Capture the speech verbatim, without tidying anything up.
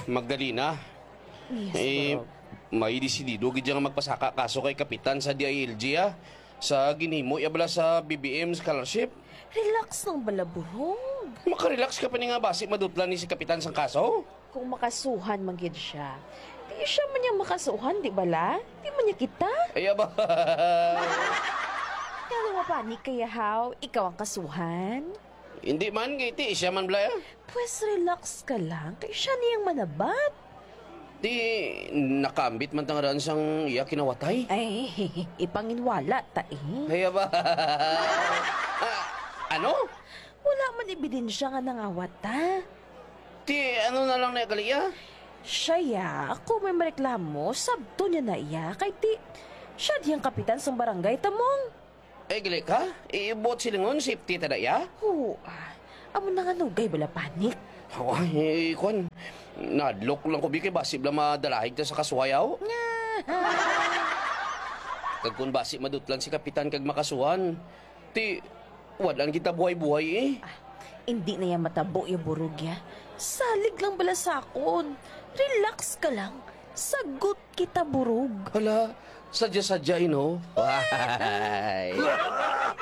Magdalena, Yes, eh, bro. May desidido gid siya nga magpasaka kaso kay kapitan sa D I L G, ah, sa ginhimo iya bala sa B B M scholarship. Relax lang bala, Burog. Makarelax ka pa ni nga basi madutlan ni si kapitan sang kaso? Kung makasuhan man gid siya, di siya man niya makasuhan, di bala? Di man niya kita? Ay, aba. Kaya mapanik kaya, haw? Ikaw ang kasuhan? Hindi man, kay ti siya man bala, ah. Pwes, relax ka lang, kay siya niyang manabat. Ti, nakaambit man ta ngaran sang iya kinawatay. Ay, ipanginwala ta, eh. Ay, aba. Ah, ano? Wala man ebidensya nga nangawat ta. Ti, ano na lang na gali, ah? Siya, ya, ako may mareklamo, sabto niya na iya, kay ti, siya diyang kapitan sang barangay, tamong. Eh, gali ka? Ibuot silingon, safety ta da, ya? Oo, ah. Amo na nga nugay bala panik. Ay, kwan. Nadlok lang ko, bi, kay basi bala madalahig ta sa kasuhayaw. Nga. Kag kung basi madutlan si kapitan kag makasuhan, ti, wad-an kita buhay-buhay, eh. Ah, hindi na yan matabo, ya, Burog, ya. Salig lang bala sa akon. Relax ka lang. Sagot kita, Burog. Hala, sadya-sadya, eh, no? Ay.